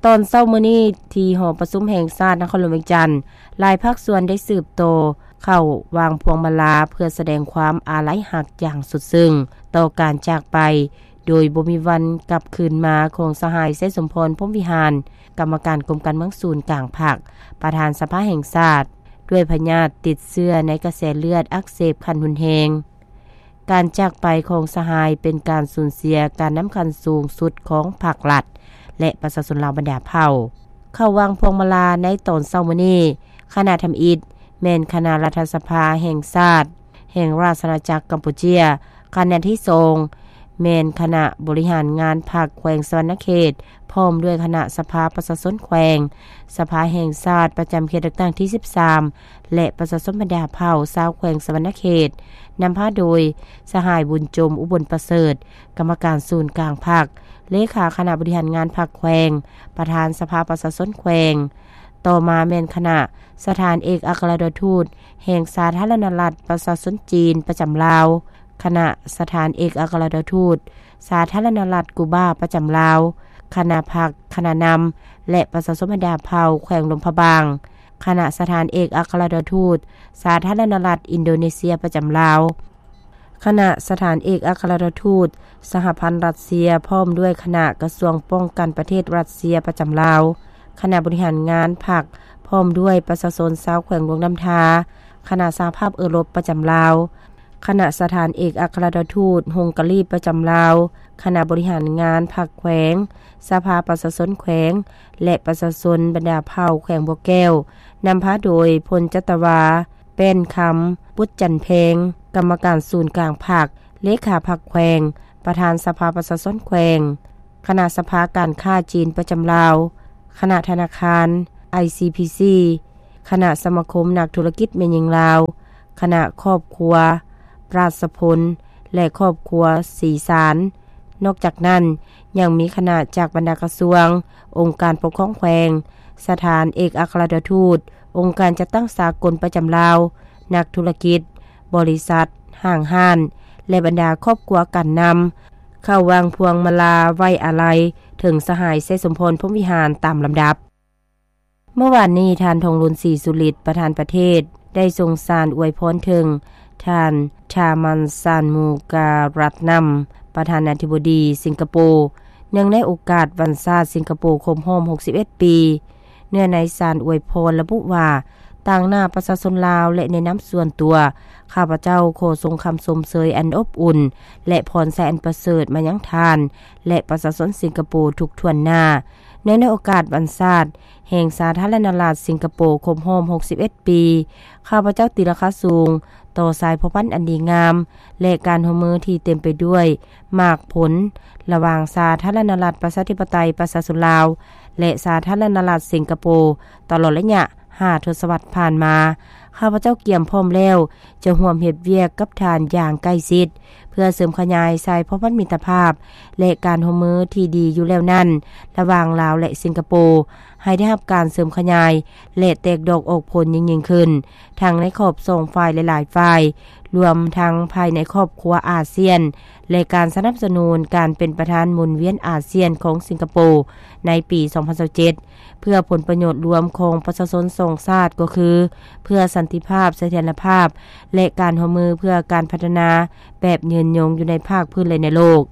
ຕອນເຊົ້າມື້ນີ້ ທີ່ຫໍປະຊຸມແຫ່ງຊາດນະຄອນຫຼວງວຽງຈັນ, ຫຼາຍພາກສ່ວນໄດ້ສືບຕໍ່ເຂົ້າວາງພວງມາລາ ເພື່ອສະແດງຄວາມອາໄລຮັກຢ່າງສຸດຊຶ້ງຕໍ່ການຈາກໄປໂດຍບໍ່ມີວັນກັບຄືນມາຂອງສະຫາຍ ໄຊສົມພອນ ພົມວິຫານ, ກຳມະການກົມການເມືອງສູນກາງພັກ, ປະທານສະພາແຫ່ງຊາດ, ດ້ວຍພະຍາດຕິດເຊື້ອໃນກະແສເລືອດອັກເສບຂັ້ນຮຸນແຮງ. ການຈາກໄປຂອງສະຫາຍເປັນການສູນເສຍການນຳຂັ້ນສູງສຸດຂອງພັກລັດ ແລະ ປະຊາຊົນລາວບັນດາເຜົ່າ. ເຂົ້າວາງພວງມາລາໃນຕອນເຊົ້າມື້ນີ້, ຄະນະທຳອິດແມ່ນຄະນະລັດຖະສະພາແຫ່ງຊາດ ແຫ່ງລາຊະອານາຈັກກຳປູເຈຍ, ຄະນະທີສອງແມ່ນຄະນະບໍລິຫານງານພັກແຂວງສະຫວັນນະເຂດ ພ້ອມດ້ວຍຄະນະສະພາປະຊາຊົນແຂວງ, ສະພາແຫ່ງຊາດປະຈຳເຂດເລືອກຕັ້ງທີສິບສາມ ແລະ ປະຊາຊົນບັນດາເຜົ່າຊາວແຂວງສະຫວັນນະເຂດ, ນຳພາໂດຍສະຫາຍ ບຸນຈົມ ອຸບົນປະເສີດ, ກຳມະການສູນກາງພັກ, ເລຂາຄະນະບໍລິຫານງານພັກແຂວງ, ປະທານສະພາປະຊາຊົນແຂວງ. ຕໍ່ມາແມ່ນຄະນະສະຖານເອກອັກຄະລັດຖະທູດແຫ່ງສາທາລະນະລັດປະຊາຊົນຈີນປະຈຳລາວ, ຄະນະສະຖານເອກອັກຄະລັດຖະທູດສາທາລະນະລັດກູບາປະຈຳລາວ, ຄະນະພັກ, ຄະນະນຳ ແລະ ປະຊາຊົນບັນດາເຜົ່າແຂວງຫຼວງພະບາງ, ຄະນະສະຖານເອກອັກຄະລັດຖະທູດສາທາລະນະລັດອິນໂດເນເຊຍປະຈຳລາວ, ຄະນະສະຖານເອກອັກຄະລັດຖະທູດສະຫະພັນຣັດເຊຍ ພ້ອມດ້ວຍຄະນະກະຊວງປ້ອງກັນປະເທດຣັດເຊຍປະຈຳລາວ, ຄະນະບໍລິຫານງານພັກ ພ້ອມດ້ວຍປະຊາຊົນຊາວແຂວງຫຼວງນ້ຳທາ, ຄະນະສະຫະພາບເອີຣົບປະຈຳລາວ, ຄະນະສະຖານເອກອັກຄະລັດຖະທູດຮົງກາລີປະຈຳລາວ, ຄະນະບໍລິຫານງານພັກແຂວງ, ສະພາປະຊາຊົນແຂວງ ແລະ ປະຊາຊົນບັນດາເຜົ່າແຂວງບໍ່ແກ້ວ, ນຳພາໂດຍ ພົນຈັດຕະວາ ແປ້ນຄຳ ບຸດຈັນແພງ, ກຳມະການສູນກາງພັກ, ເລຂາພັກແຂວງ, ປະທານສະພາປະຊາຊົນແຂວງ, ຄະນະສະພາການຄ້າຈີນປະຈຳລາວ, ຄະນະທະນາຄານ ໄອຊີພີຊີ, ຄະນະສະມາຄົມນັກທຸລະກິດແມ່ຍິງລາວ, ຄະນະຄອບຄົວ ປາສະພົນ ແລະ ຄອບຄົວສີສານ. ນອກຈາກນັ້ນ, ຍັງມີຄະນະຈາກບັນດາກະຊວງ, ອົງການປົກຄອງແຂວງ, ສະຖານເອກອັກຄະລັດຖະທູດ, ອົງການຈັດຕັ້ງສາກົນປະຈຳລາວ, ນັກທຸລະກິດ, ບໍລິສັດ, ຫ້າງຮ້ານ ແລະ ບັນດາຄອບຄົວການນຳ ເຂົ້າວາງພວງມາລາໄວ້ອາໄລເຖິງສະຫາຍ ໄຊສົມພອນ ພົມວິຫານ ຕາມລຳດັບ. ເມື່ອວານນີ້, ທ່ານ ທອງລຸນ ສີສຸລິດ ປະທານປະເທດ ໄດ້ສົ່ງສານອວຍພອນເຖິງທ່ານ ທາມັນ ຊານມູກາລັດນຳ ປະທານາທິບໍດີສິງກະໂປ, ເນື່ອງໃນໂອກາດວັນຊາດສິງກະໂປຄົບຮອບຫົກສິບເອັດປີ. ເນື້ອໃນສານອວຍພອນລະບຸວ່າ, ຕາງໜ້າປະຊາຊົນລາວ ແລະ ໃນນາມສ່ວນຕົວ, ຂ້າພະເຈົ້າຂໍສົ່ງຄຳຊົມເຊີຍອັນອົບອຸ່ນ ແລະ ພອນໄຊອັນປະເສີດມາຍັງທ່ານ ແລະ ປະຊາຊົນສິງກະໂປທຸກຖ້ວນໜ້າ. ເນື່ອງໃນໂອກາດວັນຊາດ ແຫ່ງສາທາລະນະລັດສິງກະໂປຄົບຮອບຫົກສິບເອັດປີ, ຂ້າພະເຈົ້າຕີລາຄາສູງຕໍ່ສາຍພົວພັນອັນດີງາມ ແລະ ການຮ່ວມມືທີ່ເຕັມໄປດ້ວຍໝາກຜົນ ລະຫວ່າງສາທາລະນະລັດປະຊາທິປະໄຕປະຊາຊົນລາວ ແລະ ສາທາລະນະລັດສິງກະໂປ ຕະຫຼອດໄລຍະຫ້າທົດສະວັດຜ່ານມາ. ຂ້າພະເຈົ້າກຽມພ້ອມແລ້ວ ຈະຮ່ວມເຮັດວຽກກັບທ່ານຢ່າງໃກ້ຊິດ ເພື່ອເສີມຂະຫຍາຍສາຍພົວພັນມິດຕະພາບ ແລະ ການຮ່ວມມືທີ່ດີຢູ່ແລ້ວນັ້ນ ລະຫວ່າງລາວ ແລະ ສິງກະໂປ ໃຫ້ໄດ້ຮັບການເສີມຂະຫຍາຍ ແລະ ແຕກດອກອອກຜົນຍິ່ງໆຂຶ້ນ, ທັງໃນຂອບສອງຝ່າຍ ແລະ ຫຼາຍຝ່າຍ, ລວມທັງພາຍໃນຄອບຄົວອາຊຽນ ແລະ ການສະໜັບສະໜູນການເປັນປະທານໝູນວຽນອາຊຽນຂອງສິງກະໂປໃນປີສອງພັນຊາວເຈັດ ເພື່ອຜົນປະໂຫຍດລວມຂອງປະຊາຊົນສອງຊາດ ກໍຄື ເພື່ອສັນຕິພາບ, ສະຖຽນລະພາບ ແລະ ການຮ່ວມມືເພື່ອການພັດທະນາແບບຍືນຍົງຢູ່ໃນພາກພື້ນ ແລະ ໃນໂລກ.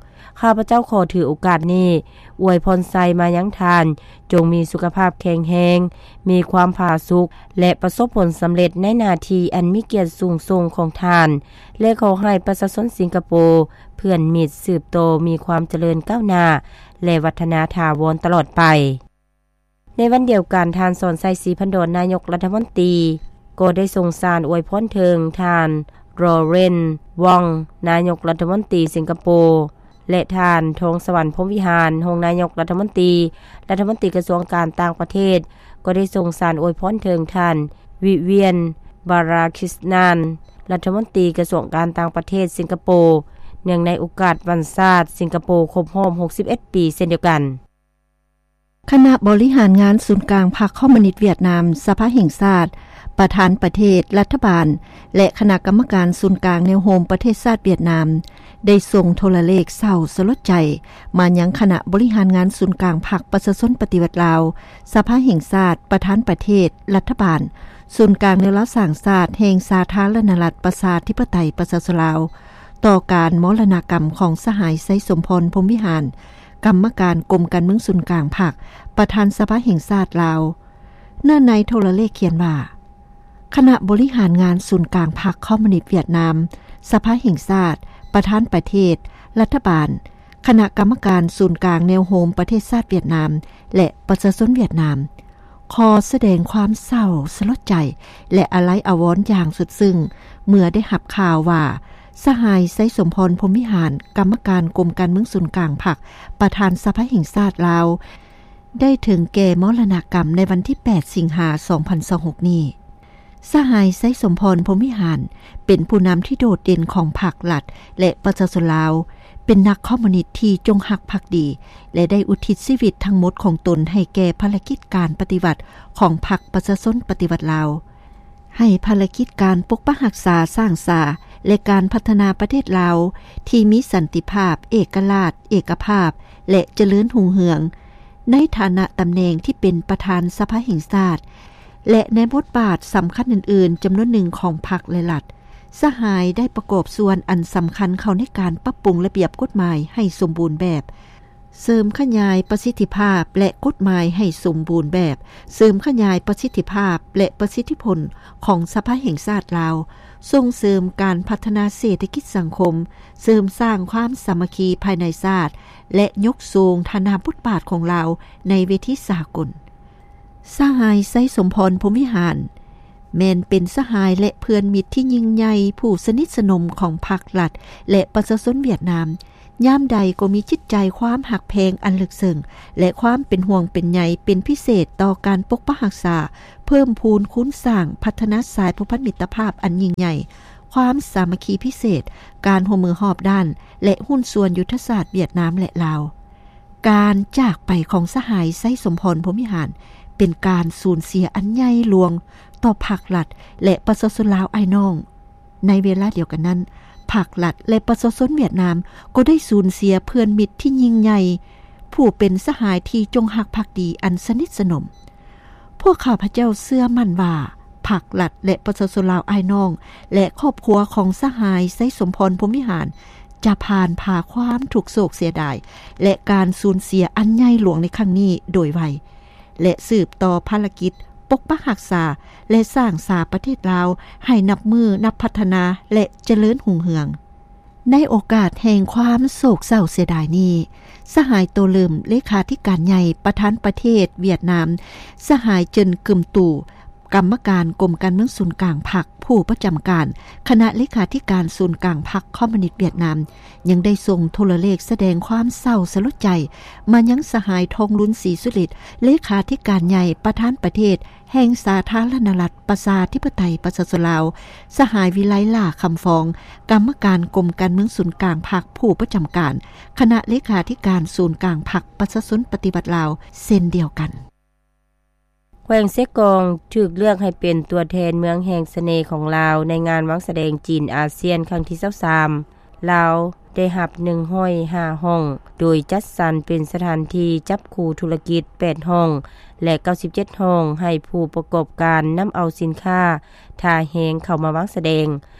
ຂ້າພະເຈົ້າຂໍຖືໂອກາດນີ້ອວຍພອນໄຊມາຍັງທ່ານ, ຈົ່ງມີສຸຂະພາບແຂງແຮງ, ມີຄວາມຜາສຸກ ແລະ ປະສົບຜົນສຳເລັດໃນໜ້າທີ່ອັນມີກຽດສູງສົ່ງຂອງທ່ານ ແລະ ຂໍໃຫ້ປະຊາຊົນສິງກະໂປ, ເພື່ອນມິດ ສືບຕໍ່ມີຄວາມຈະເລີນກ້າວໜ້າ ແລະ ວັດທະນາຖາວອນຕະຫຼອດໄປ. ໃນວັນດຽວກັນ, ທ່ານ ສອນໄຊ ສີພັນດອນ ນາຍົກລັດຖະມົນຕີ ກໍໄດ້ສົ່ງສານອວຍພອນເຖິງທ່ານ ຣໍເຣນ ວອງ ນາຍົກລັດຖະມົນຕີສິງກະໂປ ແລະ ທ່ານ ທອງສະຫວັນ ພົມວິຫານ ຮອງນາຍົກລັດຖະມົນຕີ, ລັດຖະມົນຕີກະຊວງການຕ່າງປະເທດ ກໍໄດ້ສົ່ງສານອວຍພອນເຖິງທ່ານ ວິວຽນ ບາຣາຄິສນານ ລັດຖະມົນຕີກະຊວງການຕ່າງປະເທດສິງກະໂປ ເນື່ອງໃນໂອກາດວັນຊາດສິງກະໂປຄົບຮອບຫົກສິບເອັດປີເຊັ່ນດຽວກັນ. ຄະນະບໍລິຫານງານສູນກາງພັກຄອມມູນິດຫວຽດນາມ, ສະພາແຫ່ງຊາດ, ປະທານປະເທດ, ລັດຖະບານ ແລະ ຄະນະກຳມະການສູນກາງແນວໂຮມປະເທດຊາດຫວຽດນາມ ໄດ້ສົ່ງໂທລະເລກເສົ້າສະຫຼົດໃຈມາຍັງຄະນະບໍລິຫານງານສູນກາງພັກປະຊາຊົນປະຕິວັດລາວ, ສະພາແຫ່ງຊາດ, ປະທານປະເທດ, ລັດຖະບານ, ສູນກາງແນວລາວສ້າງຊາດແຫ່ງສາທາລະນະລັດ ປະຊາທິປະໄຕ ປະຊາຊົນລາວ ຕໍ່ການມໍລະນະກຳຂອງສະຫາຍ ໄຊສົມພອນ ພົມວິຫານ, ກຳມະການກົມການເມືອງສູນກາງພັກ, ປະທານສະພາແຫ່ງຊາດລາວ. ເນື້ອໃນໂທລະເລກຂຽນວ່າ ຄະນະບໍລິຫານງານສູນກາງພັກຄອມມູນິດຫວຽດນາມ, ສະພາແຫ່ງຊາດ, ປະທານປະເທດ, ລັດຖະບານ, ຄະນະກຳມະການສູນກາງແນວໂຮມປະເທດຊາດຫວຽດນາມ ແລະ ປະຊາຊົນຫວຽດນາມ ຂໍສະແດງຄວາມເສົ້າສະຫຼົດໃຈ ແລະ ອາໄລອາວອນຢ່າງສຸດຊຶ້ງ ເມື່ອໄດ້ຮັບຂ່າວວ່າ ສະຫາຍ ໄຊສົມພອນ ພົມວິຫານ, ກຳມະການກົມການເມືອງສູນກາງພັກ, ປະທານສະພາແຫ່ງຊາດລາວ ໄດ້ເຖິງແກ່ມໍລະນະກຳໃນວັນທີແປດ ສິງຫາ ສອງພັນຊາວຫົກນີ້. ສະຫາຍ ໄຊສົມພອນ ພົມວິຫານ ເປັນຜູ້ນຳທີ່ໂດດເດັ່ນຂອງພັກລັດ ແລະ ປະຊາຊົນລາວ, ເປັນນັກຄອມມູນິດທີ່ຈົງຮັກພັກດີ ແລະ ໄດ້ອຸທິດຊີວິດທັງໝົດຂອງຕົນໃຫ້ແກ່ພາລະກິດການປະຕິວັດຂອງພັກປະຊາຊົນປະຕິວັດລາວ, ໃຫ້ພາລະກິດການປົກປັກຮັກສາ, ສ້າງສາ ແລະ ການພັດທະນາປະເທດລາວທີ່ມີສັນຕິພາບ, ເອກະລາດ, ເອກະພາບ ແລະ ຈະເລີນຮຸ່ງເຮືອງ. ໃນຖານະຕຳແໜ່ງທີ່ເປັນປະທານສະພາແຫ່ງຊາດ ແລະ ໃນບົດບາດສຳຄັນອື່ນໆຈຳນວນໜຶ່ງຂອງພັກ ແລະ ລັດ, ສະຫາຍໄດ້ປະກອບສ່ວນອັນສຳຄັນເຂົ້າໃນການປັບປຸງລະບຽບກົດໝາຍໃຫ້ສົມບູນແບບ, ເສີມຂະຫຍາຍປະສິດທິພາບ ແລະ ກົດໝາຍໃຫ້ສົມບູນແບບ, ເສີມຂະຫຍາຍປະສິດທິພາບ ແລະ ປະສິດທິຜົນຂອງສະພາແຫ່ງຊາດລາວ, ສົ່ງເສີມການພັດທະນາເສດຖະກິດສັງຄົມ, ເສີມສ້າງຄວາມສາມັກຄີພາຍໃນຊາດ ແລະ ຍົກສູງຖານະບົດບາດຂອງລາວໃນເວທີສາກົນ. ສະຫາຍ ໄຊສົມພອນ ພົມວິຫານ ແມ່ນເປັນສະຫາຍ ແລະ ເພື່ອນມິດທີ່ຍິ່ງໃຫຍ່ ຜູ້ສະໜິດສະໜົມຂອງພັກລັດ ແລະ ປະຊາຊົນຫວຽດນາມ. ຍາມໃດກໍມີຈິດໃຈຄວາມຮັກແພງອັນເລິກເຊິ່ງ ແລະ ຄວາມເປັນຫ່ວງເປັນໃຍເປັນພິເສດຕໍ່ການປົກປັກຮັກສາ, ເພີ່ມພູນຄູນສ້າງ, ພັດທະນາສາຍພົວພັນມິດຕະພາບອັນຍິ່ງໃຫຍ່, ຄວາມສາມັກຄີພິເສດ, ການຮ່ວມມືຮອບດ້ານ ແລະ ຫຸ້ນສ່ວນຍຸດທະສາດຫວຽດນາມ ແລະ ລາວ. ການຈາກໄປຂອງສະຫາຍ ໄຊສົມພອນ ພົມວິຫານ ເປັນການສູນເສຍອັນໃຫຍ່ຫຼວງຕໍ່ພັກລັດ ແລະ ປະຊາຊົນລາວອ້າຍນ້ອງ. ໃນເວລາດຽວກັນນັ້ນ, ພັກລັດ ແລະ ປະຊາຊົນຫວຽດນາມ ກໍໄດ້ສູນເສຍເພື່ອນມິດທີ່ຍິ່ງໃຫຍ່, ຜູ້ເປັນສະຫາຍທີ່ຈົງຮັກພັກດີອັນສະໜິດສະໜົມ. ພວກຂ້າພະເຈົ້າເຊື່ອໝັ້ນວ່າ ພັກລັດ ແລະ ປະຊາຊົນລາວອ້າຍນ້ອງ ແລະ ຄອບຄົວຂອງສະຫາຍ ໄຊສົມພອນ ພົມວິຫານ ຈະຜ່ານຜ່າຄວາມທຸກໂສກເສຍດາຍ ແລະ ການສູນເສຍອັນໃຫຍ່ຫຼວງໃນຄັ້ງນີ້ໂດຍໄວ ແລະ ສືບຕໍ່ພາລະກິດປົກປັກຮັກສາ ແລະ ສ້າງສາປະເທດລາວໃຫ້ນັບມື້ນັບພັດທະນາ ແລະ ຈະເລີນຮຸ່ງເຮືອງ. ໃນໂອກາດແຫ່ງຄວາມໂສກເສົ້າເສຍດາຍນີ້, ສະຫາຍ ໂຕເລີມ ເລຂາທິການໃຫຍ່ ປະທານປະເທດຫວຽດນາມ, ສະຫາຍ ເຈິນ ກຶມຕູ ກຳມະການກົມການເມືອງສູນກາງພັກ ຜູ້ປະຈຳການຄະນະເລຂາທິການສູນກາງພັກຄອມມູນິດຫວຽດນາມ ຍັງໄດ້ສົ່ງໂທລະເລກສະແດງຄວາມເສົ້າສະຫຼົດໃຈມາຍັງສະຫາຍ ທອງລຸນ ສີສຸລິດ ເລຂາທິການໃຫຍ່ ປະທານປະເທດ ແຫ່ງສາທາລະນະລັດ ປະຊາທິປະໄຕ ປະຊາຊົນລາວ, ສະຫາຍ ວິໄລ ຫຼ້າຄຳຟອງ ກຳມະການກົມການເມືອງສູນກາງພັກ ຜູ້ປະຈຳການຄະນະເລຂາທິການສູນກາງພັກປະຊາຊົນປະຕິວັດລາວ ເຊັ່ນດຽວກັນ. ແຂວງເຊກອງຖືກເລືອກໃຫ້ເປັນຕົວແທນເມືອງແຫ່ງສະເໜ່ຂອງລາວ ໃນງານວາງສະແດງຈີນອາຊຽນຄັ້ງທີຊາວສາມ. ລາວໄດ້ຮັບໜຶ່ງຮ້ອຍຫ້າຫ້ອງ ໂດຍຈັດສັນເປັນສະຖານທີ່ຈັບຄູ່ທຸລະກິດແປດຫ້ອງ ແລະ ເກົ້າສິບເຈັດຫ້ອງ ໃຫ້ຜູ້ປະກອບການນຳເອົາສິນຄ້າທ່າແຮງເຂົ້າມາວາງສະແດງ.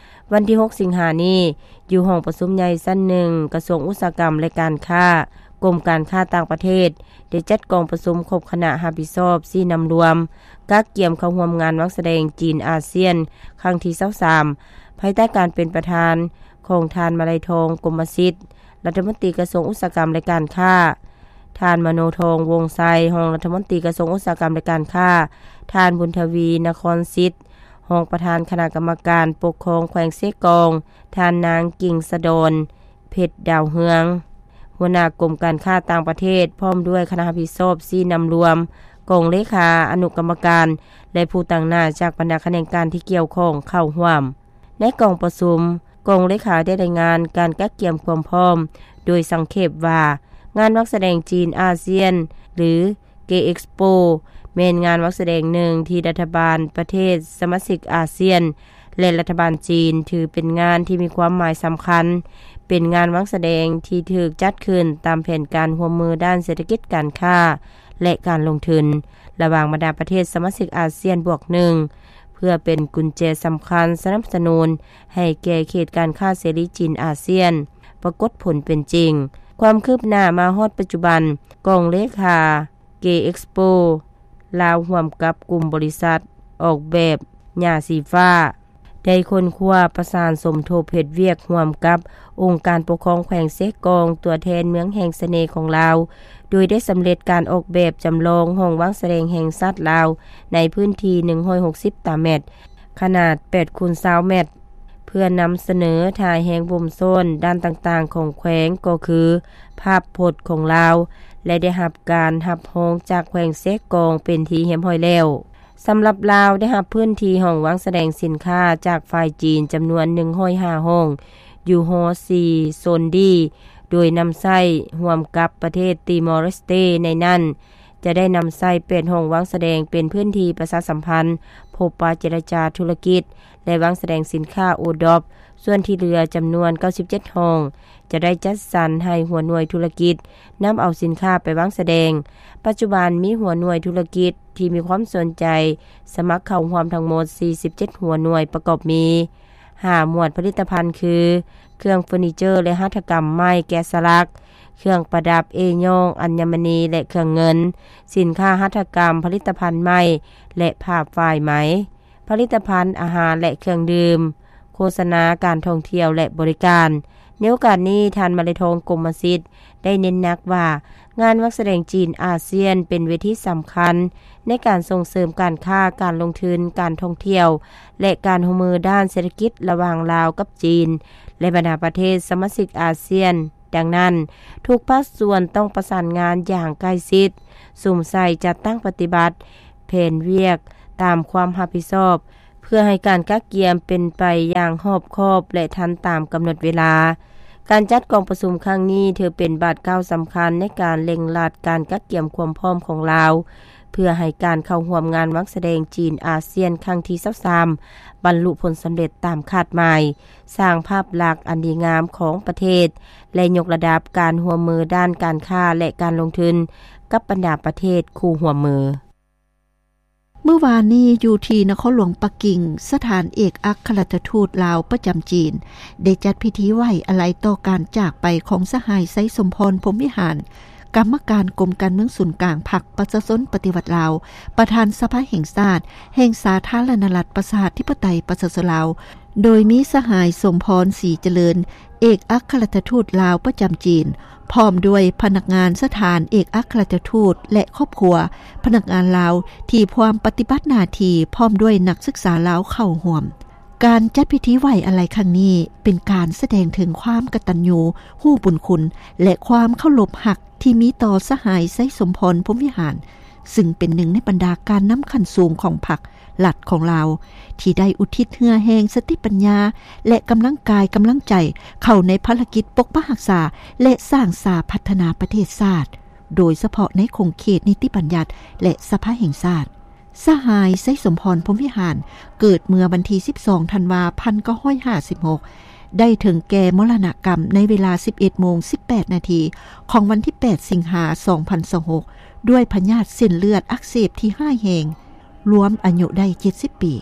ວັນທີຫົກ ສິງຫານີ້, ຢູ່ຫ້ອງປະຊຸມໃຫຍ່ຊັ້ນໜຶ່ງ ກະຊວງອຸດສາຫະກຳ ແລະ ການຄ້າ, ກົມການຄ້າຕ່າງປະເທດ ໄດ້ຈັດກອງປະຊຸມຄົບຄະນະຮັບຜິດຊອບຊີ້ນຳລວມ ກະກຽມເຂົ້າຮ່ວມງານວາງສະແດງຈີນອາຊຽນຄັ້ງທີຊາວສາມ ພາຍໃຕ້ການເປັນປະທານຂອງທ່ານ ມະໄລທອງ ກົມມະສິດ ລັດຖະມົນຕີກະຊວງອຸດສາຫະກຳ ແລະ ການຄ້າ, ທ່ານ ມະໂນທອງ ວົງໄຊ ຮອງລັດຖະມົນຕີກະຊວງອຸດສາຫະກຳ ແລະ ການຄ້າ, ທ່ານ ບຸນທະວີ ນະຄອນສິດ ຮອງປະທານຄະນະກຳມະການປົກຄອງແຂວງເຊກອງ, ທ່ານນາງ ກິ່ງສະດອນ ເພັດດາວເຮືອງ ຫົວໜ້າກົມການຄ້າຕ່າງປະເທດ ພ້ອມດ້ວຍຄະນະຮັບຜິດຊອບຊີ້ນຳລວມ, ກອງເລຂາ, ອະນຸກຳມະການ ແລະ ຜູ້ຕາງໜ້າຈາກບັນດາຂະແໜງການທີ່ກ່ຽວຂ້ອງເຂົ້າຮ່ວມ. ໃນກອງປະຊຸມ, ກອງເລຂາໄດ້ລາຍງານການກະກຽມຄວາມພ້ອມ ໂດຍສັງເຂບວ່າ, ງານວາງສະແດງຈີນອາຊຽນ ຫຼື ເກເອັກສໂປ ແມ່ນງານວາງສະແດງໜຶ່ງທີ່ລັດຖະບານປະເທດສະມາຊິກອາຊຽນ ແລະ ລັດຖະບານຈີນ ຖືເປັນງານທີ່ມີຄວາມໝາຍສຳຄັນ, ເ ເປັນງານວາງສະແດງທີ່ຖືກຈັດຂຶ້ນຕາມແຜນການຮ່ວມມືດ້ານເສດຖະກິດ, ການຄ້າ ແລະ ການລົງທຶນ ລະຫວ່າງບັນດາປະເທດສະມາຊິກອາຊຽນບວກໜຶ່ງ ເພື່ອເປັນກຸນແຈສຳຄັນສະໜັບສະໜູນໃຫ້ແກ່ເຂດການຄ້າເສລີຈີນອາຊຽນປາກົດຜົນເປັນຈິງ. ຄວາມຄືບໜ້າມາຮອດປັດຈຸບັນ, ກອງເລຂາ K-Expo ລາວຮ່ວມກັບກຸ່ມບໍລິສັດອອກແບບຫຍ້າສີຟ້າ ໄດ້ຄົ້ນຄວ້າປະສານສົມທົບເຮັດວຽກຮ່ວມກັບອົງການປົກຄອງແຂວງເຊກອງ, ຕົວແທນເມືອງແຫ່ງສະເໜ່ຂອງລາວ, ໂດຍໄດ້ສຳເລັດການອອກແບບຈຳລອງຫ້ອງວາງສະແດງແຫ່ງຊາດລາວ ໃນພື້ນທີ່ໜຶ່ງຮ້ອຍຫົກສິບຕາແມັດ, ຂະໜາດແປດຄູນຊາວແມັດ ເພື່ອນຳສະເໜີທ່າແຮງບົ່ມຊ້ອນດ້ານຕ່າງໆຂອງແຂວງ ກໍຄືພາບພົດຂອງລາວ ແລະ ໄດ້ຮັບການຮັບຮອງຈາກແຂວງເຊກອງເປັນທີ່ຮຽບຮ້ອຍແລ້ວ. ສຳລັບລາວໄດ້ຮັບພື້ນທີ່ຫ້ອງວາງສະແດງສິນຄ້າຈາກຝ່າຍຈີນຈຳນວນໜຶ່ງຮ້ອຍຫ້າຫ້ອງ ຢູ່ຫໍສີ່ໂຊນດີ ໂດຍນຳໃຊ້ຮ່ວມກັບປະເທດຕີມໍເລສເຕ. ໃນນັ້ນຈະໄດ້ນຳໃຊ້ແປດຫ້ອງວາງສະແດງເປັນພື້ນທີ່ປະຊາສຳພັນ, ພົບປະເຈລະຈາທຸລະກິດ ແລະ ວາງສະແດງສິນຄ້າໂອດອບ. ສ່ວນທີ່ເຫຼືອຈຳນວນເກົ້າສິບເຈັດຫ້ອງ ຈະໄດ້ຈັດສັນໃຫ້ຫົວໜ່ວຍທຸລະກິດນຳເອົາສິນຄ້າໄປວາງສະແດງ. ປັດຈຸບັນມີຫົວໜ່ວຍທຸລະກິດທີ່ມີຄວາມສົນໃຈສະໝັກເຂົ້າຮ່ວມທັງໝົດສີ່ສິບເຈັດຫົວໜ່ວຍ ປະກອບມີຫ້າໝວດຜະລິດຕະພັນຄື ເຄື່ອງເຟີນີເຈີ ແລະ ຫັດຖະກຳໄມ້ແກະສະຫຼັກ, ເຄື່ອງປະດັບເອຍ້ອງ, ອັນຍະມະນີ ແລະ ເຄື່ອງເງິນ, ສິນຄ້າຫັດຖະກຳ, ຜະລິດຕະພັນໄມ້ ແລະ ຜ້າຝ້າຍໄໝ. ຜະລິດຕະພັນອາຫານ ແລະ ເຄື່ອງດື່ມ, ໂຄສະນາການທ່ອງທ່ຽວ ແລະ ບໍລິການ. ໃນໂອກາດນີ້, ທ່ານ ມະໄລທອງ ກົມມະສິດ ໄດ້ເນັ້ນໜັກວ່າ ງານວາງສະແດງຈີນອາຊຽນເປັນເວທີສຳຄັນໃນການສົ່ງເສີມການຄ້າ, ການລົງທຶນ, ການທ່ອງທ່ຽວ ແລະ ການຮ່ວມມືດ້ານເສດຖະກິດລະຫວ່າງລາວກັບຈີນ ແລະ ບັນດາປະເທດສະມາຊິກອາຊຽນ. ດັ່ງນັ້ນ, ທຸກພາກສ່ວນຕ້ອງປະສານງານຢ່າງໃກ້ຊິດ, ສຸມໃສ່ຈັດຕັ້ງປະຕິບັດແຜນວຽກຕາມຄວາມຮັບຜິດຊອບ ເພື່ອໃຫ້ການກະກຽມເປັນໄປຢ່າງຮອບຄອບ ແລະ ທັນຕາມກຳນົດເວລາ. ການຈັດກອງປະຊຸມຄັ້ງນີ້ຖືເປັນບາດກ້າວສຳຄັນໃນການເລັ່ງລັດການກະກຽມຄວາມພ້ອມຂອງລາວ ເພື່ອໃຫ້ການເຂົ້າຮ່ວມງານວາງສະແດງຈີນອາຊຽນຄັ້ງທີຊາວສາມ ບັນລຸຜົນສຳເລັດຕາມຄາດໝາຍ, ສ້າງພາບລັກອັນດີງາມຂອງປະເທດ ແລະ ຍົກລະດັບການຮ່ວມມືດ້ານການຄ້າ ແລະ ການລົງທຶນກັບບັນດາປະເທດຄູ່ຮ່ວມມື. ມື້ວານນີ້ ຢູ່ທີ່ນະຄອນຫຼວງປັກກິ່ງ, ສະຖານເອກອັກຄະລັດຖະທູດລາວປະຈຳຈີນ ໄດ້ຈັດພິທີໄວ້ອາໄລຕໍ່ການຈາກໄປຂອງສະຫາຍ ໄຊສົມພອນ ພົມວິຫານ, ກຳມະການກົມການເມືອງສູນກາງພັກປະຊາຊົນປະຕິວັດລາວ, ປະທານສະພາແຫ່ງຊາດ ແຫ່ງສາທາລະນະລັດ ປະຊາທິປະໄຕ ປະຊາຊົນລາວ, ໂດຍມີສະຫາຍ ສົມພອນ ສີຈະເລີນ, ເອກອັກຄະລັດຖະທູດລາວປະຈຳຈີນ, ພ້ອມດ້ວຍພະນັກງານສະຖານເອກອັກຄະລັດຖະທູດ ແລະ ຄອບຄົວພະນັກງານລາວທີ່ພວມປະຕິບັດໜ້າທີ່, ພ້ອມດ້ວຍນັກສຶກສາລາວເຂົ້າຮ່ວມ. ການຈັດພິທີໄວ້ອາໄລຄັ້ງນີ້ ເປັນການສະແດງເຖິງຄວາມກະຕັນຍູຮູ້ບຸນຄຸນ ແລະ ຄວາມເຄົາລົບຮັກທີ່ມີຕໍ່ສະຫາຍ ໄຊສົມພອນ ພົມວິຫານ, ຊຶ່ງເປັນໜຶ່ງໃນບັນດາການນຳຂັ້ນສູງຂອງພັກ ລັດຂອງລາວ ທີ່ໄດ້ອຸທິດເຫື່ອແຮງ, ສະຕິປັນຍາ ແລະ ກຳລັງກາຍກຳລັງໃຈເຂົ້າໃນພາລະກິດປົກປັກຮັກສາ ແລະ ສ້າງສາພັດທະນາປະເທດຊາດ, ໂດຍສະເພາະໃນຂົງເຂດນິຕິບັນຍັດ ແລະ ສະພາແຫ່ງຊາດ. ສະຫາຍ ໄຊສົມພອນ ພົມວິຫານ ເກີດເມື່ອວັນທີສິບສອງ ທັນວາ ພັນເກົ້າຮ້ອຍຫ້າສິບຫົກ ໄດ້ເຖິງແກ່ມໍລະນະກຳໃນເວລາສິບເອັດໂມງສິບແປດນາທີຂອງວັນທີແປດ ສິງຫາ ສອງພັນຊາວຫົກ ດ້ວຍພະຍາດເສັ້ນເລືອດອັກເສບທີ່ຮ້າຍແຮງ, ລວມອາຍຸໄດ້ເຈັດສິບປີ.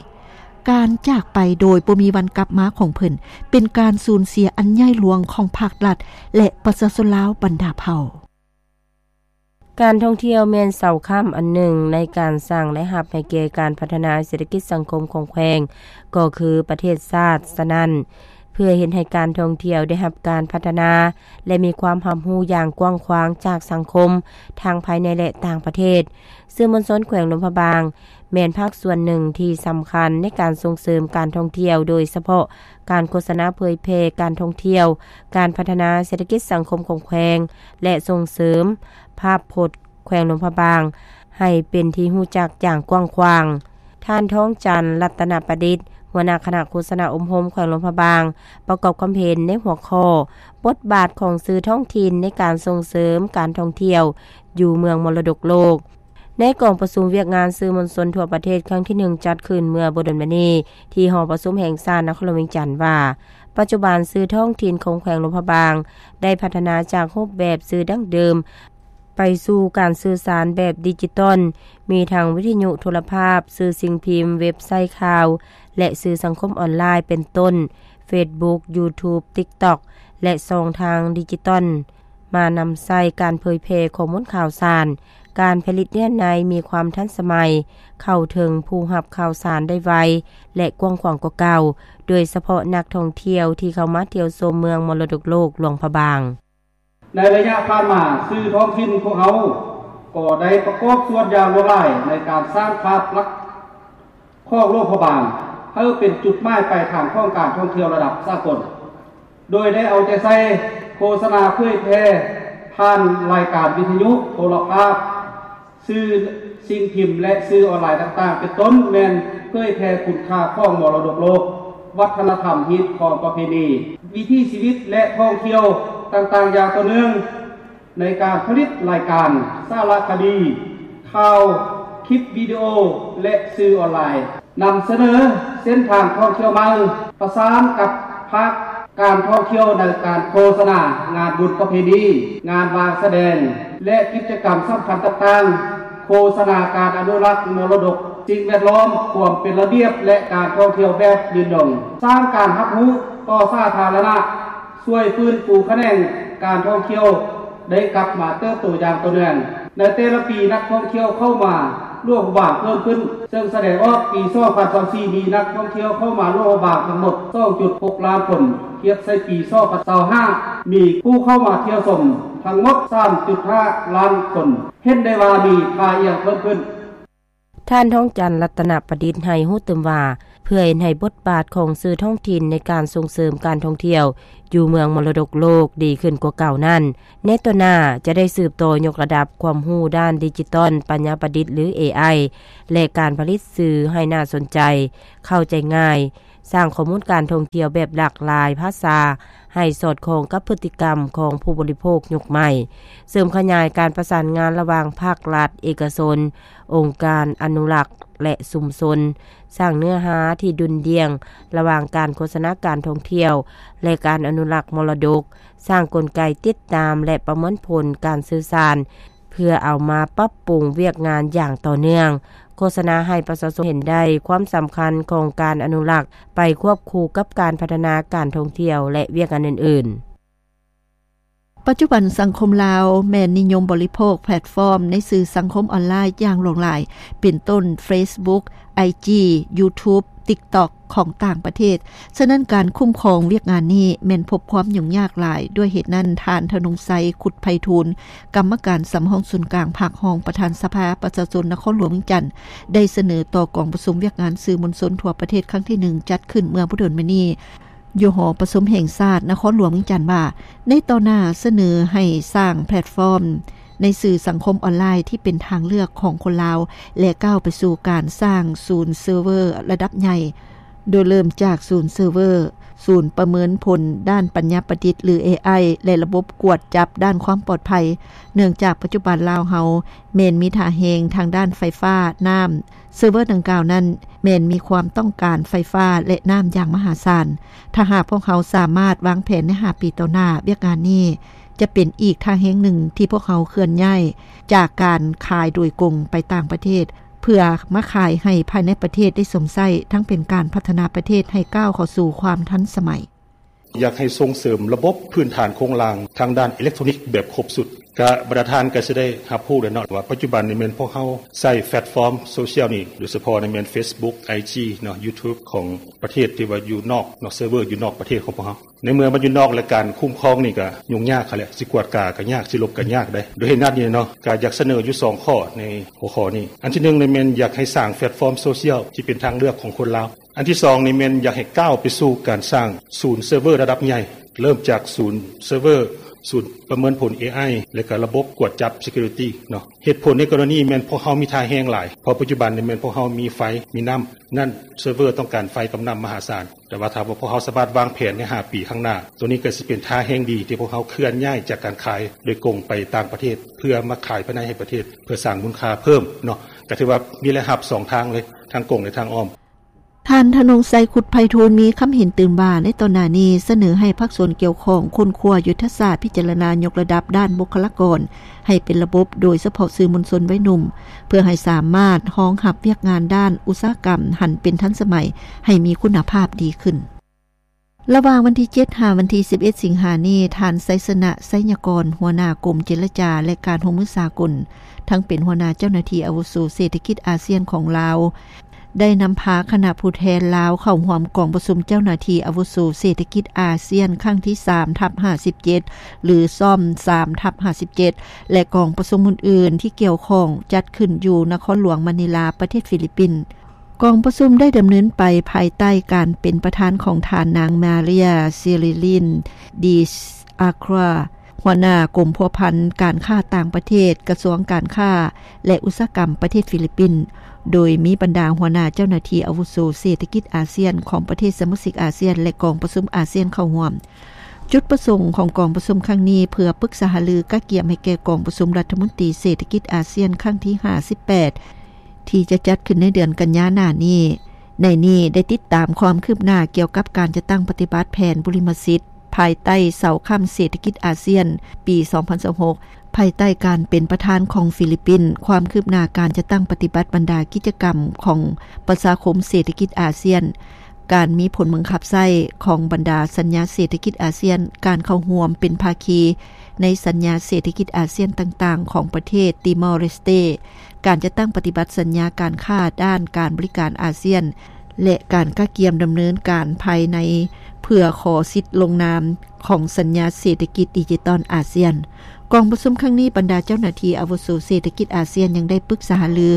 ການຈາກໄປໂດຍບໍ່ມີວັນກັບມາຂອງເພິ່ນ ເປັນການສູນເສຍອັນໃຫຍ່ຫຼວງຂອງພັກລັດ ແລະ ປະຊາຊົນລາວບັນດາເຜົ່າ. ການທ່ອງທ່ຽວແມ່ນເສົາຄ້ຳອັນໜຶ່ງໃນການສ້າງລາຍຮັບໃຫ້ແກ່ການພັດທະນາເສດຖະກິດສັງຄົມຂອງແຂວງ ກໍຄືປະເທດຊາດ. ສະນັ້ນ, ເພື່ອເຮັດໃຫ້ການທ່ອງທ່ຽວໄດ້ຮັບການພັດທະນາ ແລະ ມີຄວາມຮັບຮູ້ຢ່າງກວ້າງຂວາງຈາກສັງຄົມ ທັງພາຍໃນ ແລະ ຕ່າງປະເທດ, ສື່ມວນຊົນແຂວງຫຼວງພະບາງ ແມ່ນພາກສ່ວນໜຶ່ງທີ່ສຳຄັນໃນການສົ່ງເສີມການທ່ອງທ່ຽວ, ໂດຍສະເພາະການໂຄສະນາເຜີຍແຜ່ການທ່ອງທ່ຽວ, ການພັດທະນາເສດຖະກິດສັງຄົມຂອງແຂວງ ແລະ ສົ່ງເສີມພາບພົດແຂວງຫຼວງພະບາງໃຫ້ເປັນທີ່ຮູ້ຈັກຢ່າງກວ້າງຂວາງ. ທ່ານ ທອງຈັນ ລັດຕະນະປະດິດ, ຫົວໜ້າຄະນະໂຄສະນາອົບຮົມແຂວງຫຼວງພະບາງ ປະກອບຄວາມເຫັນໃນຫົວຂໍ້ ບົດບາດຂອງສື່ທ້ອງຖິ່ນໃນການສົ່ງເສີມການທ່ອງທ່ຽວຢູ່ເມືອງມໍລະດົກໂລກ. ໃນກອງປະຊຸມວຽກງານສື່ມວນຊົນທົ່ວປະເທດຄັ້ງທີໜຶ່ງ ຈັດຂຶ້ນເມື່ອບໍ່ດົນມານີ້ ທີ່ຫໍປະຊຸມແຫ່ງຊາດນະຄອນຫຼວງວຽງຈັນວ່າ, ປ ປັດຈຸບັນ ສື່ທ້ອງຖິ່ນຂອງແຂວງຫຼວງພະບາງ ໄດ້ພັດທະນາຈາກຮູບແບບສື່ດັ້ງເດີມ ໄປສູ່ການສື່ສານແບບດິຈິຕອນ, ມີທັງວິທະຍຸ, ໂທລະພາບ, ສື່ສິ່ງພິມ, ເວັບໄຊຂ່າວ ແລະ ສື່ສັງຄົມອອນລາຍ ເປັນຕົ້ນ ເຟສບຸກ, ຢູທູບ, ຕິກຕັອກ ແລະ ຊ່ອງທາງດິຈິຕອນ ມານຳໃຊ້ການເຜີຍແຜ່ຂໍ້ມູນຂ່າວສານ, ການຜະລິດເນື້ອໃນມີຄວາມທັນສະໄໝ, ເຂົ້າເຖິງຜູ້ຮັບຂ່າວສານໄດ້ໄວ ແລະ ກວ້າງຂວາງກວ່າເກົ່າ, ໂດຍສະເພາະນັກທ່ອງທ່ຽວທີ່ເຂົ້າມາທ່ຽວຊົມເມືອງມໍລະດົກໂລກຫຼວງພະບາງ. ໃນໄລຍະຜ່ານມາ, ສື່ທ້ອງຖິ່ນພວກເຮົາກໍໄດ້ປະກອບສ່ວນຢ່າງຫຼວງຫຼາຍໃນການສ້າງພາບລັກຂອງຫຼວງພະບາງ ໃຫ້ເປັນຈຸດໝາຍປາຍທາງຂອງການທ່ອງທ່ຽວລະດັບສາກົນ, ໂດຍໄດ້ເອົາໃຈໃສ່ໂຄສະນາເຜີຍແຜ່ຜ່ານລາຍການວິທະຍຸ, ໂທລະພາບ, ສື່ສິ່ງພິມ ແລະ ສື່ອອນລາຍຕ່າງໆ ເປັນຕົ້ນແມ່ນເຜີຍແຜ່ຄຸນຄ່າຂອງມໍລະດົກໂລກ, ວັດທະນະທຳ, ຮີດຄອງປະເພນີ, ວິຖີຊີວິດ ແລະ ທ່ອງທ່ຽວຕ່າງໆຢ່າງຕໍ່ເນື່ອງ ໃນການຜະລິດລາຍການ, ສາລະຄະດີ, ຂ່າວ, ຄລິບວິດີໂອ ແລະ ສື່ອອນລາຍ. ນຳສະເໜີເສັ້ນທາງທ່ອງທ່ຽວໃໝ່, ປະສານກັບພາກການທ່ອງທ່ຽວໃນການໂຄສະນາງານບຸນປະເພນີ, ງານວາງສະແດງ ແລະ ກິດຈະກຳສຳຄັນຕ່າງໆ, ໂຄສະນາການອະນຸລັກມໍລະດົກ, ສິ່ງແວດລ້ອມ, ຄວາມເປັນລະບຽບ ແລະ ການທ່ອງທ່ຽວແບບຍືນຍົງ, ສ້າງການຮັບຮູ້ຕໍ່ສາທາລະນະ, ຊ່ວຍຟື້ນຟູຂະແໜງການທ່ອງທ່ຽວ ໄດ້ກັບມາເຕີບໂຕຢ່າງຕໍ່ເນື່ອງ. ໃນແຕ່ລະປີ, ນັກທ່ອງທ່ຽວເຂົ້າມາຫຼວງພະບາງເພີ່ມຂຶ້ນ, ເຊິ່ງສະແດງອອກປີສອງພັນຊາວສີ່ ມີນັກທ່ອງທ່ຽວເຂົ້າມາຫຼວງພະບາງທັງໝົດສອງຈຸດຫົກລ້ານຄົນ, ທຽບໃສ່ປີສອງພັນຊາວຫ້າ ມີຜູ້ເຂົ້າມາທ່ຽວຊົມທັງໝົດສາມຈຸດຫ້າລ້ານຄົນ, ເຫັນໄດ້ວ່າມີທ່າອ່ຽງເພີ່ມຂຶ້ນ. ທ່ານ ທອງຈັນ ລັດຕະນະປະດິດ ໃຫ້ຮູ້ຕື່ມວ່າ ເພື່ອເຮັດໃຫ້ບົດບາດຂອງສື່ທ້ອງຖິ່ນໃນການສົ່ງເສີມການທ່ອງທ່ຽວຢູ່ເມືອງມໍລະດົກໂລກດີຂຶ້ນກວ່າເກົ່ານັ້ນ, ໃນຕໍ່ໜ້າຈະໄດ້ສືບຕໍ່ຍົກລະດັບຄວາມຮູ້ດ້ານດິຈິຕອນ, ປັນຍາປະດິດ ຫຼື ເອໄອ ແລະ ການຜະລິດສື່ໃຫ້ໜ້າສົນໃຈ, ເຂົ້າໃຈງ່າຍ, ສ້າງຂໍ້ມູນການທ່ອງທ່ຽວແບບຫຼາກຫຼາຍພາສາ ໃຫ້ສອດຄ່ອງກັບພຶດຕິກຳຂອງຜູ້ບໍລິໂພກຍຸກໃໝ່, ເສີມຂະຫຍາຍການປະສານງານລະຫວ່າງພາກລັດ, ເອກະຊົນ, ອົງການອະນຸລັກ ແລະ ຊຸມຊົນ, ສ້າງເນື້ອຫາທີ່ດຸ່ນດ່ຽງລະຫວ່າງການໂຄສະນາການທ່ອງທ່ຽວ ແລະ ການອະນຸລັກມໍລະດົກ, ສ້າງກົນໄກຕິດຕາມ ແລະ ປະເມີນຜົນການສື່ສານ ເພື່ອເອົາມາປັບປຸງວຽກງານຢ່າງຕໍ່ເນື່ອງ, ໂຄສະນາໃຫ້ປະຊາຊົນເຫັນໄດ້ຄວາມສຳຄັນຂອງການອະນຸລັກ ໄປຄວບຄູ່ກັບການພັດທະນາການທ່ອງທ່ຽວ ແລະ ວຽກງານອື່ນໆ. ປັດຈຸບັນສັງຄົມລາວແມ່ນນິຍົມບໍລິໂພກແພລດຟອມໃນສື່ສັງຄົມອອນລາຍຢ່າງຫຼວງຫຼາຍ, ເປັນຕົ້ນ ເຟສບຸກ, ໄອຈີ, ຢູທູບ, ຕິກຕັອກ ຂອງຕ່າງປະເທດ. ສະນັ້ນ ການຄຸ້ມຄອງວຽກງານນີ້ແມ່ນພົບຄວາມຫຍຸ້ງຍາກຫຼາຍ. ດ້ວຍເຫດນັ້ນ, ທ່ານ ທະນົງໄຊ ຄຸດໄພທູນ, ກຳມະການສຳຮອງສູນກາງ ພາກຮອງປະທານສະພາປະຊາຊົນນະຄອນຫຼວງວຽງຈັນ ໄດ້ສະເໜີຕໍ່ກອງປະຊຸມວຽກງານສື່ມວນຊົນທົ່ວປະເທດຄັ້ງທີໜຶ່ງ ຈັດຂຶ້ນເມື່ອບໍ່ດົນມານີ້ ຢູ່ຫໍປະຊຸມແຫ່ງຊາດນະຄອນຫຼວງວຽງຈັນວ່າ ໃນຕໍ່ໜ້າສະເໜີໃຫ້ສ້າງແພລດຟອມໃນສື່ສັງຄົມອອນລາຍທີ່ເປັນທາງເລືອກຂອງຄົນລາວ ແລະ ກ້າວໄປສູ່ການສ້າງສູນເຊີເວີລະດັບໃຫຍ່, ໂດຍເລີ່ມຈາກສູນເຊີເວີ, ສູນປະເມີນຜົນດ້ານປັນຍາປະດິດ ຫຼື ເອໄອ ແລະ ລະບົບກວດຈັບດ້ານຄວາມປອດໄພ, ເນື່ອງຈາກປັດຈຸບັນລາວເຮົາແມ່ນມີທ່າແຮງທາງດ້ານໄຟຟ້າ, ນ້ຳ, ເຊີເວີດັ່ງກ່າວນັ້ນແມ່ນມີຄວາມຕ້ອງການໄຟຟ້າ ແລະ ນ້ຳຢ່າງມະຫາສານ. ຖ້າຫາກພວກເຮົາສາມາດວາງແຜນໃນຫ້າປີຕໍ່ໜ້າ, ວຽກງານນີ້ຈະເປັນອີກທ່າແຮງໜຶ່ງທີ່ພວກເຮົາເຄື່ອນຍ້າຍຈາກການຂາຍໂດຍກົງໄປຕ່າງປະເທດ, ເພື່ອມາຂາຍໃຫ້ພາຍໃນປະເທດໄດ້ຊົມໃຊ້, ທັງເປັນການພັດທະນາປະເທດໃຫ້ກ້າວເຂົ້າສູ່ຄວາມທັນສະໄໝ. ຢາກໃຫ້ສົ່ງເສີມລະບົບພື້ນຖານໂຄງລ່າງທາງດ້ານອີເລັກໂທຣນິກແບບຄົບຊຸດ. ກະບັນດາທ່ານກະຊິໄດ້ຮັບຮູ້ແລ້ວເນາະ ວ່າປັດຈຸບັນນີ້ແມ່ນພວກເຮົາໃຊ້ແພລດຟອມໂຊຊຽວນີ້, ໂດຍສະເພາະນີ້ແມ່ນເຟສບຸກ, ໄອຈີ ເນາະ, ຢູທູບ ຂອງປະເທດທີ່ວ່າຢູ່ນອກເນາະ, ເຊີເວີຢູ່ນອກປະເທດຂອງພວກເຮົາ. ໃນເມື່ອມັນຢູ່ນອກ ແລະ ການຄຸ້ມຄອງນີ້ກະຫຍຸ້ງຍາກຫັ້ນແຫຼະ, ຊິກວດກາກະຍາກ, ຊິລົບກະຍາກໄດ໋. ໂດຍເຫດນັ້ນນີ້ເນາະ, ກະຢາກສະເໜີຢູ່ສອງຂໍ້ໃນຫົວຂໍ້ນີ້. ອັນທີໜຶ່ງນີ້ແມ່ນຢາກໃຫ້ສ້າງແພລດຟອມໂຊຊຽວທີ່ເປັນທາງເລືອກຂອງຄົນລາວ. ອັນທີສອງນີ້ແມ່ນຢາກໃຫ້ກ້າວໄປສູ່ການສ້າງສູນເຊີເວີລະດັບໃຫຍ່, ເລີ່ມຈາກສູນເຊີເວີ, ສູນປະເມີນຜົນເອໄອ ແລະ ກະລະບົບກວດຈັບ ເຊັກຄີຣິຕີ້ ເນາະ. ເຫດຜົນໃນກໍລະນີແມ່ນພວກເຮົາມີທ່າແຮງຫຼາຍ, ເພາະປັດຈຸບັນນີ້ແມ່ນພວກເຮົາມີໄຟ, ມີນ້ຳ, ນັ້ນເຊີເວີຕ້ອງການໄຟກັບນ້ຳມະຫາສານ. ແຕ່ວ່າຖ້າວ່າພວກເຮົາສາມາດວາງແຜນໃນຫ້າປີຂ້າງໜ້າ, ໂຕນີ້ກໍຊິເປັນທ່າແຮງດີທີ່ພວກເຮົາເຄື່ອນຍ້າຍຈາກການຂາຍໂດຍກົງໄປຕ່າງປະເທດ ເພື່ອມາຂາຍພາຍໃນໃຫ້ປະເທດ ເພື່ອສ້າງມູນຄ່າເພີ່ມເນາະ. ກໍຖືວ່າມີລາຍຮັບສອງທາງເລີຍ, ທາງກົງ ແລະ ທາງອ້ອມ. ທ່ານ ທະນົງໄຊ ຄຸດໄພທູນ ມີຄຳເຫັນຕື່ມວ່າ ໃນຕອນໜ້ານີ້ ສະເໜີໃຫ້ພາກສ່ວນກ່ຽວຂ້ອງຄົ້ນຄວ້າຍຸດທະສາດ ພິຈາລະນາຍົກລະດັບດ້ານບຸກຄະລາກອນໃຫ້ເປັນລະບົບ, ໂດຍສະເພາະສື່ມວນຊົນວັຍໜຸ່ມ ເພື່ອໃຫ້ສາມາດຮອງຮັບວຽກງານດ້ານອຸດສາຫະກຳ ຫັນເປັນທັນສະໄໝ ໃຫ້ມີຄຸນນະພາບດີຂຶ້ນ. ລະຫວ່າງວັນທີເຈັດ ຫາວັນທີສິບເອັດ ສິງຫານີ້, ທ່ານ ໄຊຊະນະ ໄຊຍະກອນ ຫົວໜ້າກົມເຈລະຈາ ແລະ ການຮ່ວມມືສາກົນ, ທັງເປັນຫົວໜ້າເຈົ້າໜ້າທີ່ອາວຸໂສເສດຖະກິດອາຊຽນຂອງລາວ, ໄດ້ນຳພາຄະນະຜູ້ແທນລາວເຂົ້າຮ່ວມກອງປະຊຸມເຈົ້າໜ້າທີ່ອາວຸໂສເສດຖະກິດອາຊຽນຄັ້ງທີສາມທັບຫ້າສິບເຈັດ ຫຼື ຊອມ ສາມທັບຫ້າສິບເຈັດ ແລະ ກອງປະຊຸມອື່ນໆທີ່ກ່ຽວຂ້ອງ ຈັດຂຶ້ນຢູ່ນະຄອນຫຼວງມະນີລາ ປະເທດຟີລິບປິນ. ກອງປະຊຸມໄດ້ດຳເນີນໄປພາຍໃຕ້ການເປັນປະທານຂອງທ່ານນາງ ມາເຣຍ ຊີຣີລິນ ດີອາຄຣາ ຫົວໜ້າກົມພົວພັນການຄ້າຕ່າງປະເທດ ກະຊວງການຄ້າ ແລະ ອຸດສາຫະກຳປະເທດຟີລິບປິນ, ໂດຍມີບັນດາຫົວໜ້າເຈົ້າໜ້າທີ່ອາວຸໂສເສດຖະກິດອາຊຽນຂອງປະເທດສະມາຊິກອາຊຽນ ແລະ ກອງປະຊຸມອາຊຽນເຂົ້າຮ່ວມ. ຈຸດປະສົງຂອງກອງປະຊຸມຄັ້ງນີ້ ເພື່ອປຶກສາຫາລືກະກຽມໃຫ້ແກ່ກອງປະຊຸມລັດຖະມົນຕີເສດຖະກິດອາຊຽນຄັ້ງທີຫ້າສິບແປດ ທີ່ຈະຈັດຂຶ້ນໃນເດືອນກັນຍາໜ້ານີ້. ໃນນີ້ໄດ້ຕິດຕາມຄວາມຄືບໜ້າກ່ຽວກັບການຈັດຕັ້ງປະຕິບັດແຜນບຸລິມະສິດ ພາຍໃຕ້ເສົາຄ້ຳເສດຖະກິດອາຊຽນ ປີສອງພັນຊາວຫົກ ພາຍໃຕ້ການເປັນປະທານຂອງຟີລິບປິນ, ຄວາມຄືບໜ້າການຈັດຕັ້ງປະຕິບັດບັນດາກິດຈະກຳຂອງປະຊາຄົມເສດຖະກິດອາຊຽນ, ການມີຜົນບັງຄັບໃຊ້ຂອງບັນດາສັນຍາເສດຖະກິດອາຊຽນ, ການເຂົ້າຮ່ວມເປັນພາຄີໃນສັນຍາເສດຖະກິດອາຊຽນຕ່າງໆຂອງປະເທດຕີມໍເລສເຕ, ການຈັດຕັ້ງປະຕິບັດສັນຍາການຄ້າດ້ານການບໍລິການອາຊຽນ ແລະ ການກະກຽມດຳເນີນການພາຍໃນເພື່ອຂໍສິດລົງນາມຂອງສັນຍາເສດຖະກິດດິຈິຕອນອາຊຽນ. ກອງປະຊຸມຄັ້ງນີ້, ບັນດາເຈົ້າໜ້າທີ່ອາວຸໂສເສດຖະກິດອາຊຽນຍັງໄດ້ປຶກສາຫາລື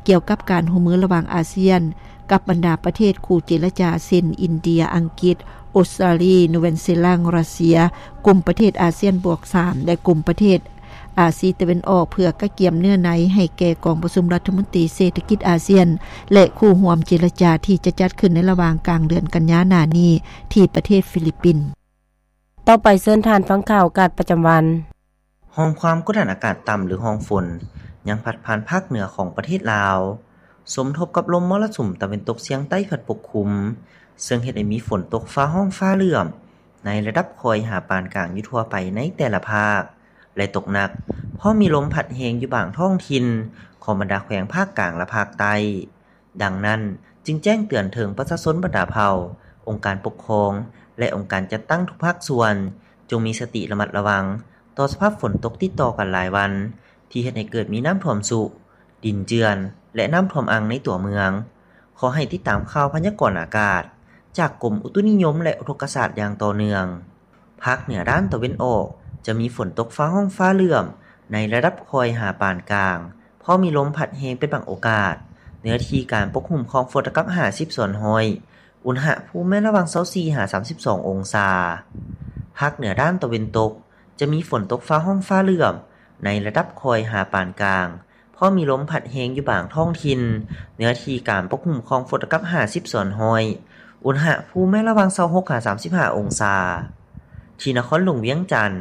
ກ່ຽວກັບການຮ່ວມມືລະຫວ່າງອາຊຽນກັບບັນດາປະເທດຄູ່ເຈລະຈາ ເຊັ່ນ ອິນເດຍ, ອັງກິດ, ອົດສະຕຣາລີ, ນູແວນຊີແລນ, ຣັດເຊຍ, ກຸ່ມປະເທດອາຊຽນບວກສາມ ແລະ ກຸ່ມປະເທດອາຊີຕາເວັນອອກ ເພື່ອກະກຽມເນື້ອໃນໃຫ້ແກ່ກອງປະຊຸມລັດຖະມົນຕີເສດຖະກິດອາຊຽນ ແລະ ຄູ່ຮ່ວມເຈລະຈາທີ່ຈະຈັດຂຶ້ນໃນລະຫວ່າງກາງເດືອນກັນຍາໜ້ານີ້ທີ່ປະເທດຟີລິບປິນ. ຕໍ່ໄປເຊີນທ່ານຟັງຂ່າວອາກາດປະຈຳວັນ. ຮ່ອງຄວາມກົດອາກາດຕ່ຳ ຫຼື ຮ່ອງຝົນ ຍັງພັດຜ່ານພາກເໜືອຂອງປະເທດລາວ, ສົມທົບກັບລົມມໍລະສຸມຕາເວັນຕົກສຽງໃຕ້ພັດປົກຄຸມ, ເຊິ່ງເຮັດໃຫ້ມີຝົນຕົກຟ້າຮ້ອງຟ້າເຫຼື້ອມໃນລະດັບຄ່ອຍຫາປານກາງຢູ່ທົ່ວໄປໃນແຕ່ລະພາກ ແລະ ຕົກໜັກ, ພ້ອມມີລົມພັດແຮງຢູ່ບາງທ້ອງຖິ່ນຂອງບັນດາແຂວງພາກກາງ ແລະ ພາກໃຕ້. ດັ່ງນັ້ນ, ຈຶ່ງແຈ້ງເຕືອນເຖິງປະຊາຊົນບັນດາເຜົ່າ, ອົງການປົກຄອງ ແລະ ອົງການຈັດຕັ້ງທຸກພາກສ່ວນ, ຈົ່ງມີສະຕິລະມັດລະວັງຕໍ່ສະພາບຝົນຕົກຕິດຕໍ່ກັນຫຼາຍວັນ ທີ່ເຮັດໃຫ້ເກີດມີນ້ຳຖ້ວມຊຸ, ດິນເຈື່ອນ ແລະ ນ້ຳຖ້ວມອັ່ງໃນຕົວເມືອງ. ຂໍໃຫ້ຕິດຕາມຂ່າວພະຍາກອນອາກາດຈາກກົມອຸຕຸນິຍົມ ແລະ ອຸທົກກະສາດຢ່າງຕໍ່ເນື່ອງ. ພາກເໜືອດ້ານຕາເວັນອອກ ຈະມີຝົນຕົກຟ້າຮ້ອງຟ້າເຫຼື້ອມໃນລະດັບຄ່ອຍຫາປານກາງ, ພ້ອມມີລົມພັດແຮງເປັນບາງໂອກາດ. ເນື້ອທີ່ການປົກຄຸມຂອງຝົນລະດັບຫ້າສິບສ່ວນຮ້ອຍ, ອຸນຫະພູມແມ່ນລະຫວ່າງຊາວສີ່ຫາສາມສິບສອງອົງສາ. ພາກເໜືອດ້ານຕາເວັນຕົກ ຈະມີຝົນຕົກຟ້າຮ້ອງຟ້າເຫຼື້ອມໃນລະດັບຄ່ອຍຫາປານກາງ, ພໍມີລົມພັດແຮງຢູ່ບາງທ້ອງຖິ່ນ, ເນື້ອທີ່ການປົກຄຸມຂອງຝົນລະດັບຫ້າສິບສ່ວນຮ້ອຍ, ອຸນຫະພູມແມ່ນລະຫວ່າງຊາວຫົກຫາສາມສິບຫ້າອົງສາ. ທີ່ນະຄອນຫຼວງວຽງຈັນ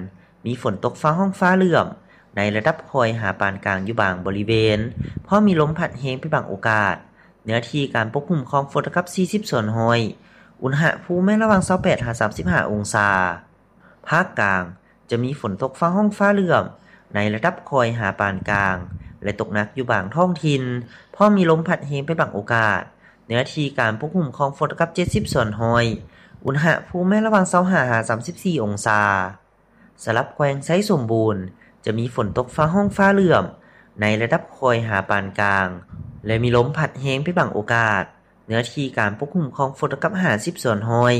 ມີຝົນຕົກຟ້າຮ້ອງຟ້າເຫຼື້ອມໃນລະດັບຄ່ອຍຫາປານກາງຢູ່ບາງບໍລິເວນ, ພໍມີລົມພັດແຮງເປັນບາງໂອກາດ, ເນື້ອທີ່ການປົກຄຸມຂອງຝົນລະດັບສີ່ສິບສ່ວນຮ້ອຍ, ອຸນຫະພູມແມ່ນລະຫວ່າງຊາວແປດຫາສາມສິບຫ້າອົງສາ. ພາກກາງ ຈະມີຝົນຕົກຟ້າຮ້ອງຟ້າເຫຼື້ອມໃນລະດັບຄ່ອຍຫາປານກາງ ແລະ ຕົກໜັກຢູ່ບາງທ້ອງຖິ່ນ, ພ້ອມມີລົມພັດແຮງເປັນບາງໂອກາດ. ເນື້ອທີ່ການປົກຄຸມຂອງຝົນລະດັບເຈັດສິບສ່ວນຮ້ອຍ, ອຸນຫະພູມແມ່ນລະຫວ່າງຊາວຫ້າຫາສາມສິບສີ່ອົງສາ. ສຳລັບແຂວງໄຊສົມບູນ ຈະມີຝົນຕົກຟ້າຮ້ອງຟ້າເຫຼື້ອມໃນລະດັບຄ່ອຍຫາປານກາງ ແລະ ມີລົມພັດແຮງເປັນບາງໂອກາດ. ເນື້ອທີ່ການປົກຄຸມຂອງຝົນລະດັບຫ້າສິບສ່ວນຮ້ອຍ,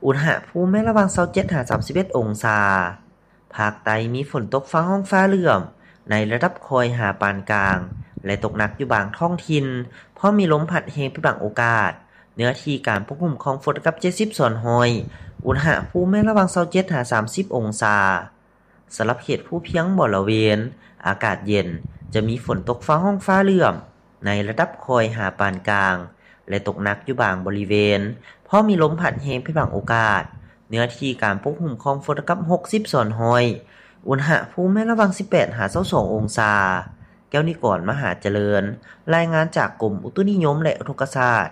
ອຸນຫະພູມແມ່ນລະຫວ່າງຊາວເຈັດຫາສາມສິບເອັດອົງສາ. ພາກໃຕ້ມີຝົນຕົກຟ້າຮ້ອງຟ້າເຫຼື້ອມໃນລະດັບຄ່ອຍຫາປານກາງ ແລະ ຕົກໜັກຢູ່ບາງທ້ອງຖິ່ນ, ພ້ອມມີລົມພັດແຮງເປັນບາງໂອກາດ. ເນື້ອທີ່ການປົກຄຸມຂອງຝົນລະດັບເຈັດສິບສ່ວນຮ້ອຍ, ອຸນຫະພູມແມ່ນລະຫວ່າງຊາວເຈັດຫາສາມສິບອົງສາ. ສຳລັບເຂດພູພຽງບໍລະເວນ ອາກາດເຢັນ, ຈະມີຝົນຕົກຟ້າຮ້ອງຟ້າເຫຼື້ອມໃນລະດັບຄ່ອຍຫາປານກາງ ແລະ ຕົກໜັກຢູ່ບາງບໍລິເວນ, ພໍມີລົມພັດແຮງເປັນບາງໂອກາດ. ເນື້ອທີ່ການປົກຄຸມຂອງຝົນລະດັບຫົກສິບສ່ວນຮ້ອຍ, ອຸນຫະພູມແມ່ນລະຫວ່າງສິບແປດຫາຊາວສອງອົງສາ. ແກ້ວນິກອນ ມະຫາຈະເລີນ, ລາຍງານຈາກກົມອຸຕຸນິຍົມ ແລະ ອຸທົກກະສາດ.